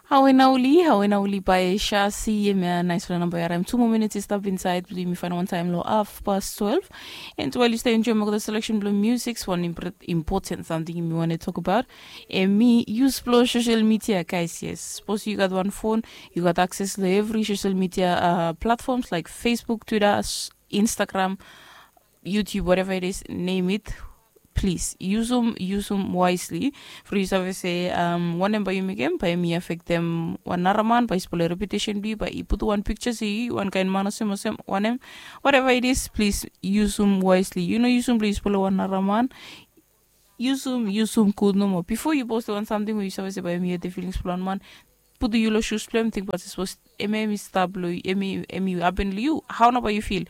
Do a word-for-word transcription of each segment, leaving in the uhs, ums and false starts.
Hawe nauli, hawe nauli by Shasi. Em ya naispela namba ya raim. Two more minutes i stap inside. Bli mi fain one time lo half past twelve. And while you stay enjoy mo the selection blo music, one important something mi want to talk about. Em mi use blo social media, guys. Yes, suppose you got one phone, you got access to every social media uh, platforms like Facebook, Twitter, Instagram, YouTube, whatever it is, name it. Please use them, use them wisely. For you save se um, wanem bai yu mekem bai mi affect them one nara man bai spoil reputation bi bai i put one picture se yu one kind man osem osem wanem, whatever it is, please use them wisely. You know, use them please spoil one nara man. Use them, use them good no more. Before you post one something where you save se bai mi the feelings plan man, put the yulo shoes blem, think about this was emi emi stop lo emi emi happen to you. How na bai you feel?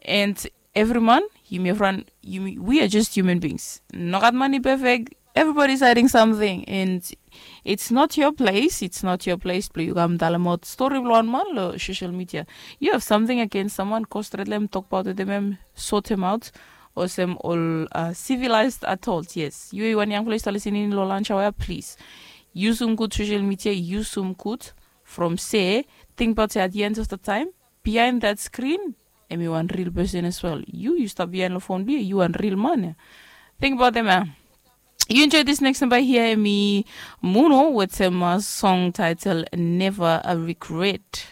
And every man, you may run, you may, we are just human beings. No gat money perfect. Everybody's hiding something, and it's not your place. It's not your place. Blo you come tell about story blo one man lo social media. You have something against someone, go straight let him talk about it, him sort him out. Osem all uh, civilized adult. Yes, you one young place to listen in lo lunch hour, please. Use some good social media. Use some good from say, think about it, at the end of the time, behind that screen, emi one real person as well. You, you stop behind the phone, be you one real man. Think about them, man. You enjoy this next number here, me Muno with some uh, song title Never a Regret.